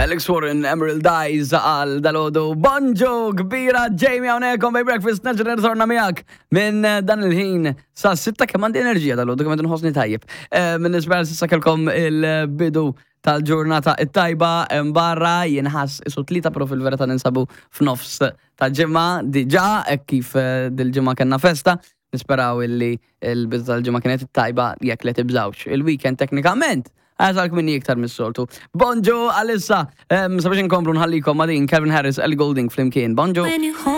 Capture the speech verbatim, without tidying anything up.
Alex Warren, Emerald Eyes għal dalgħodu. Bonġu kbira, Jamie hawnhekk on Bay Breakfast, nerġa' nirritorna miegħek minn eh, dan il-ħin sa sitta. Kemm għandi enerġija dalgħodu, kemm qed nħossni tajjeb. Eh, Minn nispera s'issa kellkom il-bidu tal-ġurnata it-tajba. Barra jinħass isu tlieta, però fil-verità ninsabu f'nofs ta' ġimgħa diġà, hekk kif eh, dil-ġimgħa kellna festa. Nisperaw illi il-bidu tal-ġimgħa kienet it-tajba, jekk li tibżawx. Il-weekend teknikament għazalk minni iktar mis-soltu. Bonġu għalissa, sabiex nkomplu nħallikom ma' din Calvin Harris, Ellie Goulding flimkien. Bonġu. When you hold